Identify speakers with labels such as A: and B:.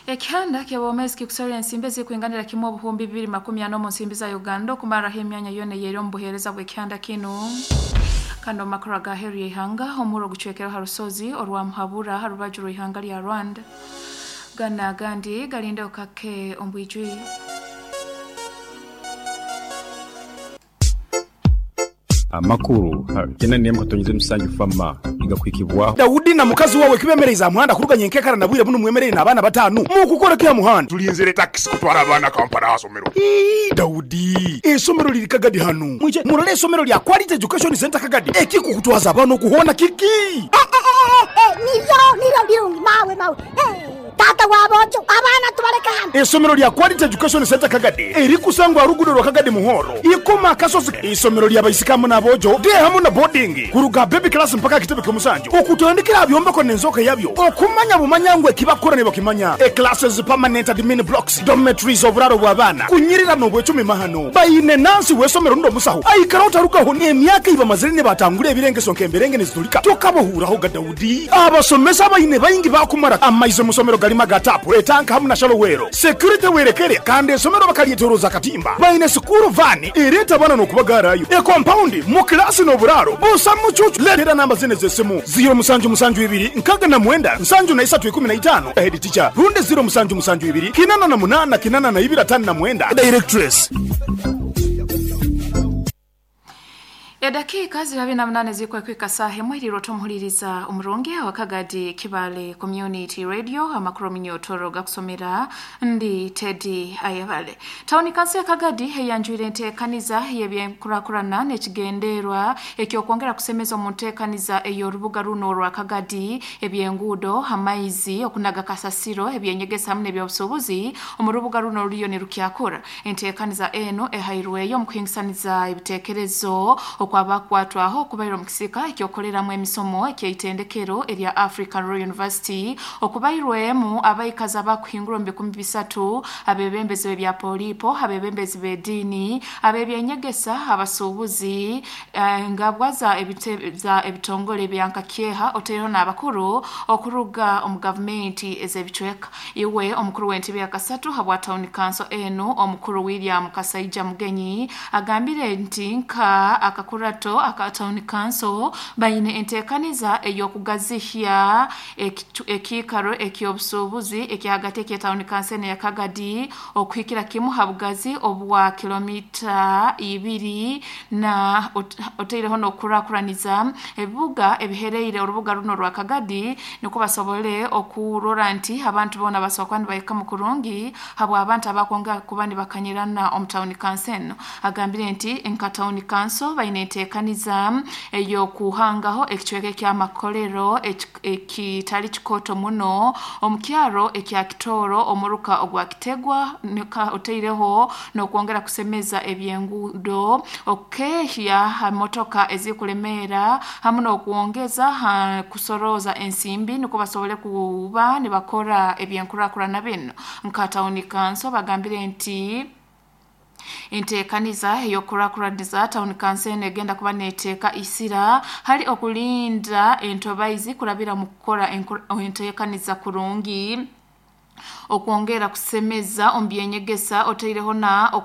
A: Ekihanda ky'obwomeezi kikusorora ensimbi ezirikwinganira kimwe 2040 omu nsimbi za Uganda okumarraho emyanya yoona eyeri omu buheereza bw'ekihanda kinu. Kandi omu makuru aga aheeru y'eihanga, omurro gucwekereho ha rusozi orwa Muhabura ha rubaju rw'eihanga lya Rwanda. Ganu n'agandi galindeho kake omu bwijwire.
B: Amakuru ha kyenda n'emwe katonyeza emisanju FAMA nigakuhikibwaho.
C: Daudi na mukazi wawe kibemereize aha muhanda kuruga nyenkekara na bwire bunu mwemereire n'abaana batanu. Mukukora ki aha muhanda?
D: Tulinzire takisi kutwara abaana Kampala aha somero.
C: Ii, Daudi, eisomero liri Kagadi hanu. Mwije murole eisomero lya Quality Education Centre Kagadi. Ekikukutwaza abaana okuhoona kiki?
E: Niryo, niryo birungi mawe, mawe. Taata wa boojo, abaana tubaleke hanu.
C: Eisomero lya Quality Education Centre Kagadi erikusangwa aha ruguudo rwa Kagadi Muhoro, Ikoma Akasozi. Eisomero lya baisiki hamu n'aboojo, day hamu na boarding, kuruga aha baby class mpaka aha kitebe ky'omusanju, okutandikira aha byombeko n'enzooka yabyo, okumanya bumanya ngu ekibakukora nibakimanya. E Classes, permanent admin blocks, dormitories, oburaaro bw'abaana, kunyirira n'obwecumi mahano. Baine nansi w'eisomero rundi omusaho aikara otarugaho n'emyaka ei bamazire nibatangura ebirengeso nk'emberenge nizitulika tokabahuuraho ga Daudi. Abasomesa abaine baingi baakumara amaizi omu somero garimu aga taapu, etanka hamu na shallow well. Security werekere kandi esomero bakaryetoroza akatimba. Baine sikuuru vaani ereeta abaana n'okubagaarayo. Ekompaundi mu kilaasi n'oburaaro busa mucuucu. Leetera namba zinu ez'esimu, ziiro musanju musanju ibiri nkaga na mwenda nsanju na isatu 15, Head teacher, rundi ziiro musanju musanju ibiri kinana na munana kinana na ibiri atano na mwenda, Directress.
A: Edakiika ziri abiri na munana ezirikweka saaha emwe eriirwe otomuhuririza omurungi wa Kagadi Kibale Community Radio amakuru omunyotoro gakusomera ndi Teddy Ayebale. Tawuni kanso ya Kagadi eyanjwire enteekaniza y'ebyenkurakurana n'ekigenderwa eky'okwongera kusemeza omu nteekaniza ey'orubuga runo orwa Kagadi eby'enguudo, amaizi, okunaga kasasiro, ebyenyegesa hamu n'ebyobusuubuzi omu rubuga runo ruriyo nirukyakura. Enteekaniza enu ehairweyo omu kuhingisaniza ebiteekerezo okwabakukwatwaho okubaire omu kisika eky'okukoreramu emisomo eky'eitendekero erya Africa Royal University okubairwemu abaikazi abakuhingura omu 3000, abebembezi b'ebya poliipo, abebembezi b'ediini, ab'ebyenyegesa, abasuubuzi, engabwa za za ebitongole bya nkakyeha otaireho n'abakuru okuruga omu gavumenti ez'ebicweka. Iwe omukuru w'entebe ya kasatu habwa tawuni kanso enu omukuru William Kasaija Mugenyi agambire nti nka akakurato aka tawuni kanso baine enteekaniza ey'okugazihya ekiikaro eky'obusuubuzi ekyahagati ekya tawuni kanso enu eya Kagadi okuhikira kimu ha bugazi obwa kilomita ibiri na otaireho n'okukurakuraniza ebibuga ebihereire orubuga runo orwa Kagadi nukwo basobole okurora nti abantu boona basobora kuba nibahikamu kurungi habw'abantu abakwongera kuba nibakanyirana omu tawuni kanso enu. Agambire nti nka tawuni kanso baine enteekaniza ey'okuhangaho ekicweka eky'amakolero ekitali kikooto muno omu kyaro ekya Kitooro omuruka ogwa Kitegwa otaireho n'okwongera kusemeza eby'enguudo, okukeehya ha motoka ezikulemeera hamu n'okwongeza ha kusorooza ensimbi nukwo basobole kuba nibakora ebyenkurakurana binu. Nka tawuni kanso bagambire nti enteekaniza ey'okukurakuraniza tawuni kanso enu egenda kuba neeteeka isira hali okulinda entobaizi kurabira mu kukora enteekaniza kurungi okwongera kusemeza omu byenyegesa otaireho na